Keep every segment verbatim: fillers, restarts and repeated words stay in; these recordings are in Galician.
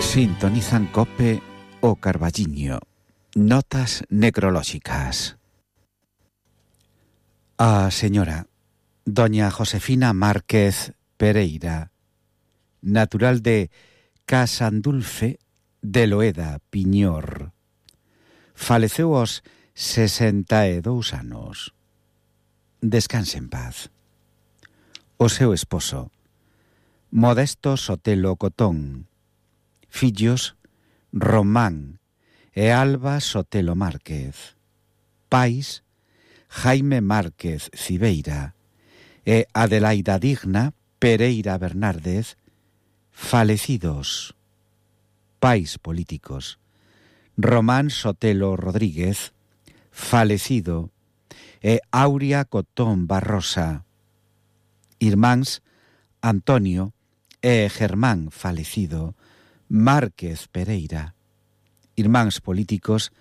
Sintonizan COPE o Carballiño. Notas necrolóxicas. A señora doña Josefina Márquez Pereira, natural de Casandulfe de Loeda, Piñor, faleceu aos sesenta e dous anos. Descanse en paz. O seu esposo, Modesto Sotelo Cotón. Fillos, Román e Alba Sotelo Márquez. Pais, Jaime Márquez Cibeira e Adelaida Digna Pereira Bernárdez, falecidos. Pais políticos, Román Sotelo Rodríguez, falecido, e Aurea Cotón Barrosa. Irmáns, Antonio e Germán, falecido, Márquez Pereira. Irmáns políticos,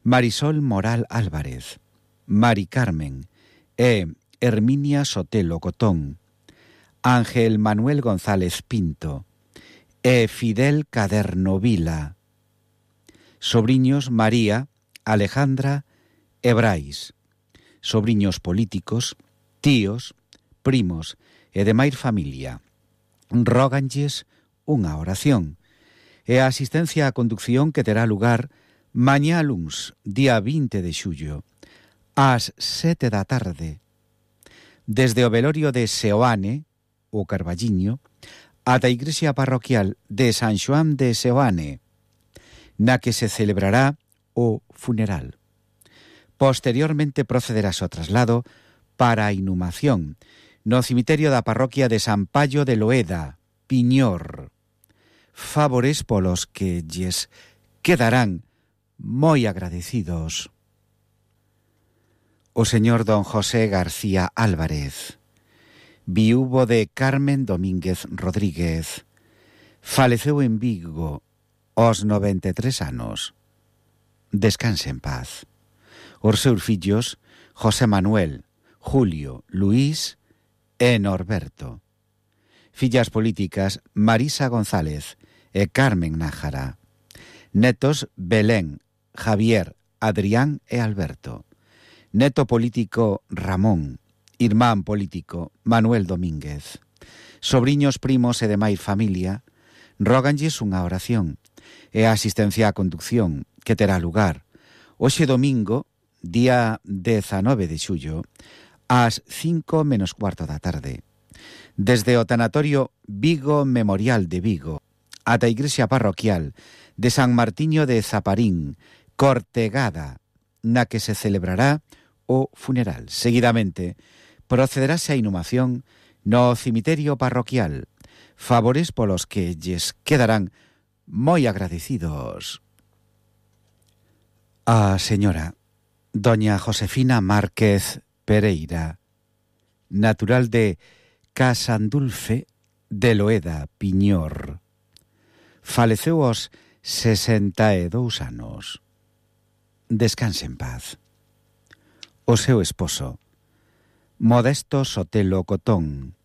Marisol Moral Álvarez, Mari Carmen e Herminia Sotelo Cotón, Ángel Manuel González Pinto e Fidel Caderno Vila. Sobriños, María, Alejandra e Brais. Sobriños políticos, tíos, primos e demais familia. Róganlles unha oración e a asistencia á conducción que terá lugar mañá luns, día vinte de xullo, ás sete da tarde, desde o velorio de Seoane, o Carballiño, ata a igrexa parroquial de San Xoán de Seoane, na que se celebrará o funeral. Posteriormente procederase o traslado para a inhumación no cemiterio da parroquia de San Payo de Loeda, Piñor. Favores polos que lles quedarán moi agradecidos. O señor don José García Álvarez, viúvo de Carmen Domínguez Rodríguez, faleceu en Vigo aos noventa e tres anos. Descanse en paz. Os seus fillos, José Manuel, Julio, Luís e Norberto. Fillas políticas, Marisa González e Carmen Nájara. Netos, Belén, Javier, Adrián e Alberto. Neto político, Ramón. Irmán político, Manuel Domínguez. Sobriños, primos e demais familia, róganlles unha oración e a asistencia á conducción que terá lugar hoxe domingo, día dezanove de xullo, ás cinco menos cuarto da tarde, desde o tanatorio Vigo Memorial de Vigo ata a igrexa parroquial de San Martiño de Zaparín, Cortegada, na que se celebrará o funeral. Seguidamente, procederase a inhumación no cemiterio parroquial, favores polos que lles quedarán moi agradecidos. A señora doña Josefina Márquez Pereira, natural de Casandulfe de Loeda, Piñor, faleceu aos sesenta e dous anos. Descanse en paz. O seu esposo, Modesto Sotelo Cotón.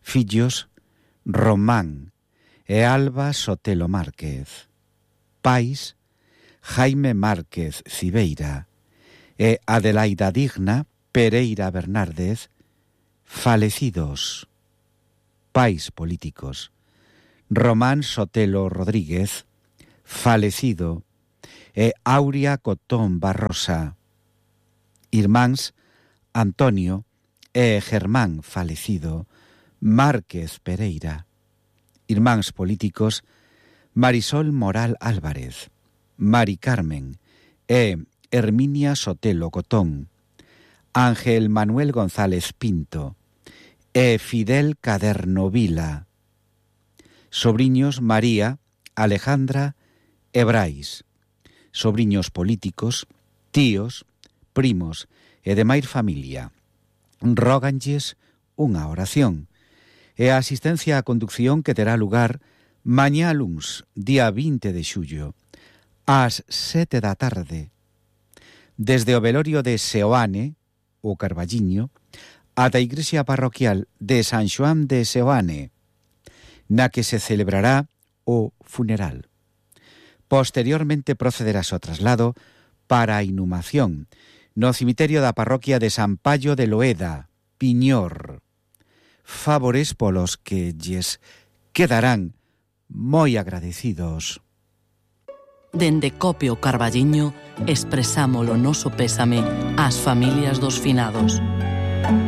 Fillos, Román e Alba Sotelo Márquez. Pais, Jaime Márquez Cibeira e Adelaida Digna Pereira Bernárdez, falecidos. Pais políticos, Román Sotelo Rodríguez, falecido, e Aurea Cotón Barrosa. Irmáns, Antonio e Germán, falecido, Márquez Pereira. Irmáns políticos, Marisol Moral Álvarez, Mari Carmen e Herminia Sotelo Cotón, Ángel Manuel González Pinto e Fidel Caderno Vila. Sobriños, María, Alejandra e Brais. Sobriños políticos, tíos, primos e demais familia. Róganlles unha oración e a asistencia á conducción que terá lugar mañá luns, día vinte de xullo, ás sete da tarde, desde o velorio de Seoane, o Carballiño, ata a igrexa parroquial de San Xoán de Seoane, na que se celebrará o funeral. Posteriormente procederase o traslado para a inhumación no cemiterio da parroquia de San Pallo de Loeda, Piñor. Favores polos que lles quedarán moi agradecidos. Dende Cope o Carballiño expresamos o noso pésame ás familias dos finados.